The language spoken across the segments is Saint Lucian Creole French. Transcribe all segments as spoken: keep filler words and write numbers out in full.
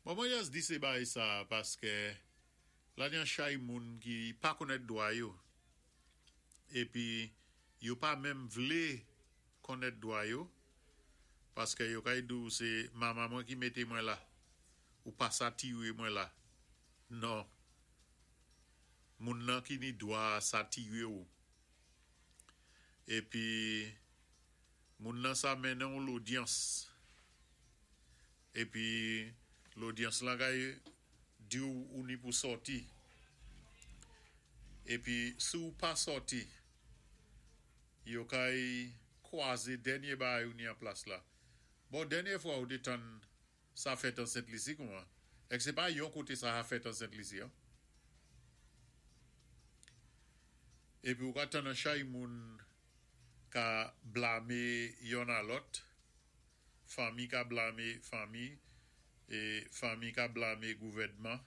Bon, mwen jis di sé bagay sa paské la ni an chay moun ki pa konnèt dwa yo. Épi yo pa menm vlé konnèt dwa yo paské yo kay di ou sé manman mwen ki mété mwen la ou pa sa tiwé mwen la. Non. Moun nan ki ni dwa sa tiwé ou. Épi moun nan sa mennen ou lodyans. Épi lodyans lan kay di ou ou ni pou sòti. Épi si ou pa sòti, yo kay kwazé dènyé bagay ou ni an plas la. Bon, dènyé fwa ou té tann sa fèt an Sent Lisi kouman? Èk sé pa yon koté sa a fèt an Sent Lisi, an? Épi ou ka tann an chay moun ka blamé yonn a lòt, fanmi ka blamé fanmi, é fanmi ka blamé gouvèdman,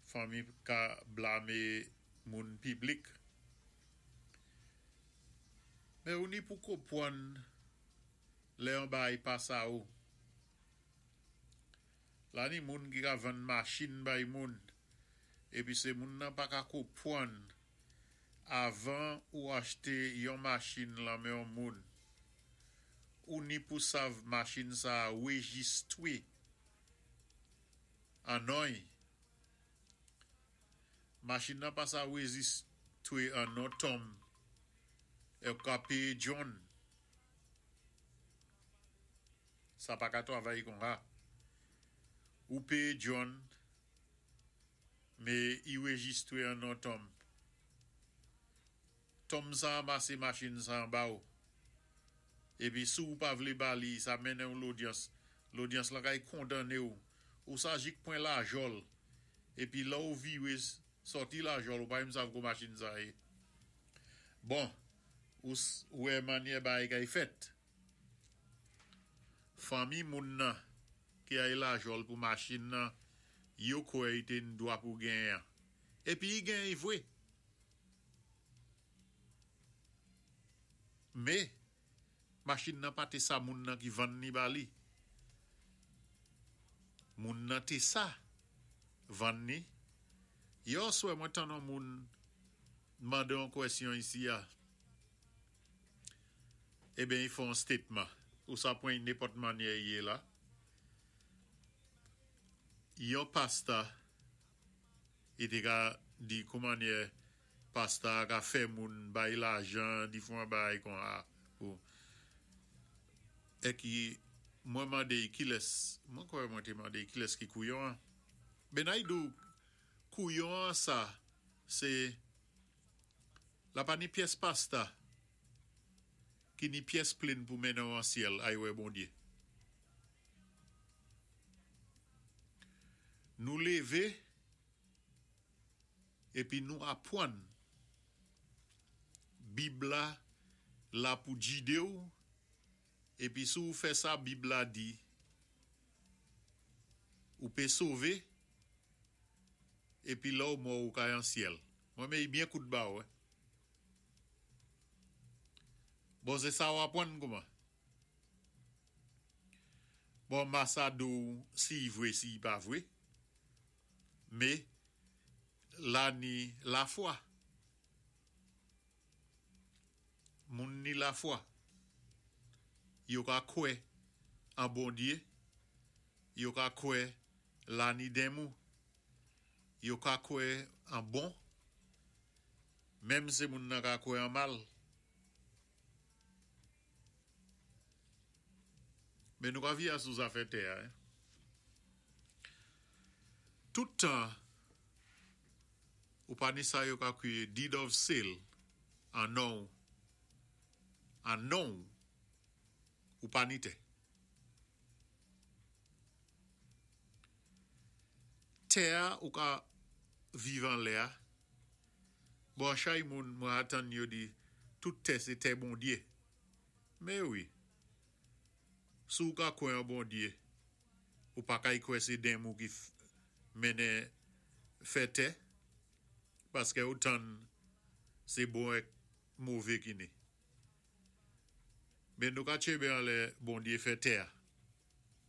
fanmi ka blamé moun piblik. Mé ou ni pou konpwann lè yon bagay pa sa ou. La ni moun ki ka vann machin bay moun, épi sé moun nan pa ka konpwann avan ou achté yon machin lan men yon moun. Ou ni pou sav machin sa wéjistwé an non-y. Machin nan pa sa wéjistwé an non Tom é ou ka péyé John. Sa pa ka twavay kon-sa. Ou péyé John, mé i wéjistwé an non Tom. Tom sa anmasé machin sa anba ou. Épi si ou pa vlé ba li, sa mennen ou lodyans. Lodyans la kay kondanné ou. Ou sa jik pwen Lajòl. Épi la ou viwé sòti Lajòl, ou pa menm sav kou machin sa yé. Bon, ou wè mannyè bagay kay fèt. Fanmi moun nan ki ay Lajòl pou machin nan, yo kwè i té ni dwa pou genyen. Épi i genyen vwé. Mé, machin nan pa té sa moun nan ki vann ni ba li. Moun nan té sa vann ni. Yè oswè mwen tann an moun mandé an kwèsyon isi a. Eben, i fè an statement. Ou sa pwan nenpòt mannyè yé la. Yon pasta, i té ka di kou mannyè pasta ka fè moun bay lajan, di fon bagay kon-sa. Ou. É ki mwen mandé kilès, mwen kwè mwen té mandé kilès ki kouyon an. Ben ay di ou kouyon an sa, sé la pa ni pyès pasta ki ni pyès plin pou mennen an syèl ay wè Bondyé. Nou lévé épi nou apwann Bib la la pou jidé ou épi si ou fè sa Bib la di ou pé sové épi la ou mò ou kay an syèl. Mwen mé i byen kout ba ou. Bon, sé sa ou apwann kouman? Bon, ma sa di ou si i vwé, si i pa vwé. Mé la ni lafwa. Moun ni lafwa. Yo ka kwè an Bondyé, yo ka kwè la ni denmou, yo ka kwè an bon, menm sé moun nan ka kwè an mal. Mé nou ka via sou zafè tè a. Tout tan ou pa ni sa yo ka kwiyé deed of sale an non an non ou pa ni tè. Tè a ou ka viv anlè a. Bon, chay moun mwen atan yo di tout tè sé tè Bondyé. Mé wi. Si ou ka kwè an Bondyé, ou pa kay kwè sé denmou ki mennen fè tè, paské ou tann sé bon èk mové ki ni. Mé nou ka tchébé anlè Bondyé fè tè a.